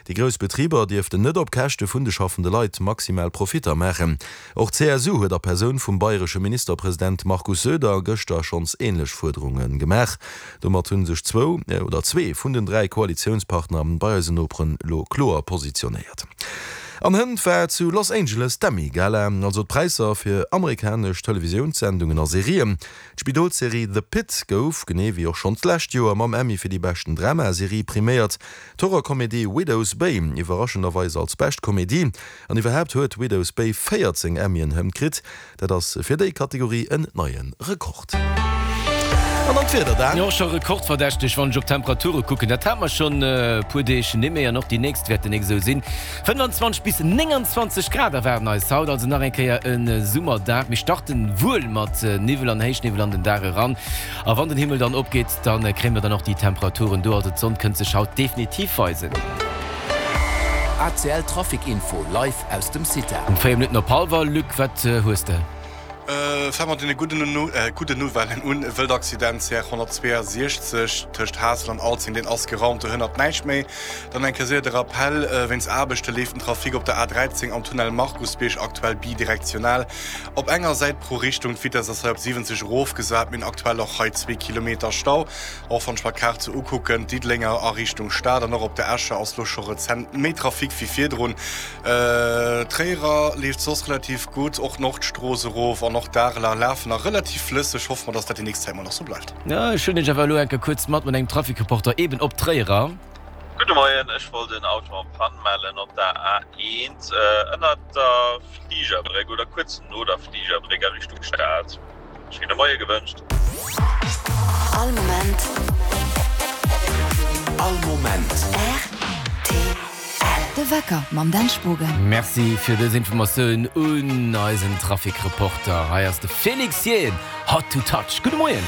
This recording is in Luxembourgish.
Déi grouss Betriber dierften net op Käschte vun de schaffende Leit maximal Profitter maachen. Och d'CSU huet a Persoun vum bayresche Ministerpresident Markus Söder gëschter schonns änlech Fuerderunge gemaach. Domat hu sech zwou oder zwee vun den 3 Koalitiounspartner bei eisen Noperen elo kloer positionéiert. An hënt war zu Los Angeles d'Emmy-Gala, also d'Präisser fir amerikanesch Televisiounssendungen a Serien. D'Spidolsserie The Pitt gouf, genee wéi och schonn d'lescht Joer, mam Emmy fir déi beschten Dramaserie priméiert. D'Horrorkomedie Widow's Bay iwwerraschenderweis als bescht Komedie. An iwwerhaapt huet Widow's Bay 14 Emmyen hënt kritt. Dat ass fir déi Kategorie en neie Rekord. An dann d'Wieder, Dan. Jo, scho rekordverdächteg, wann ech op d'Temperature kucken. Dat hat mer schonn e puer Deeg nimmé an och déi nächst wäerten nik esou sinn. 25 bis 29 Grad erwaarden eis haut, also nach eng Kéier e Summerdag. Mir starten wuel mat Niwwel an Héichniwwel an den Dag eran a wann den Himmel dann opgeet, da kréie mer dann och déi Temperaturen do. Also d'Sonn kënnt sech haut definitiv weisen. ACL Trafic Info live aus dem CITA. Um 4 Minutten op hallwer, Luc, wat hues de? Fänke mat deene gudden Nouvellen un, E wëllt Accident CR 162 tëscht Haassel an Alzeng, deen ass geraumt, do hënnert näischt méi. Dann eng Kéier séier de Rappel, Wéinst Aarbechte leeft den Trafic op der A13 am Tunnel Markusbierg aktuell bidirektional op enger Säit pro Richtung. D'Vitess ass hei op 70 erofgesat. Mir hunn aktuell och hei zwee Kilometer Stau. Och wann ech mer d'Kaart sou ukucken, Diddelenger a Richtung Stad an och op der Escher ass lo scho rezent méi Trafic wéi virdrun. D'Tréierer leeft soss relativ gutt, och d'Nordstrooss erof an och d'Areler lafen nach relativ flësseg. Hoffe mer, dass dat déi nächst Zäit mol nach sou bleift. Ech huelen iech awer elo enke kuerz mat mat engem Traficreporter eben op Tréierer. Gudde Moien, ech wollt en Auto en panne mellen op der A1 ënnert der Fligerbréck oder kuerz no der Fligerbréck a Richtung Stad. Schéine Moie gewënscht. All Moment. All Moment. Rtl. De Wecker mam Dan Spogen. Merci fir dës Informatioun un eisen Trafic-Reporter. Hei ass de Félix Jaehn, Hot to Touch. Gudde Moien.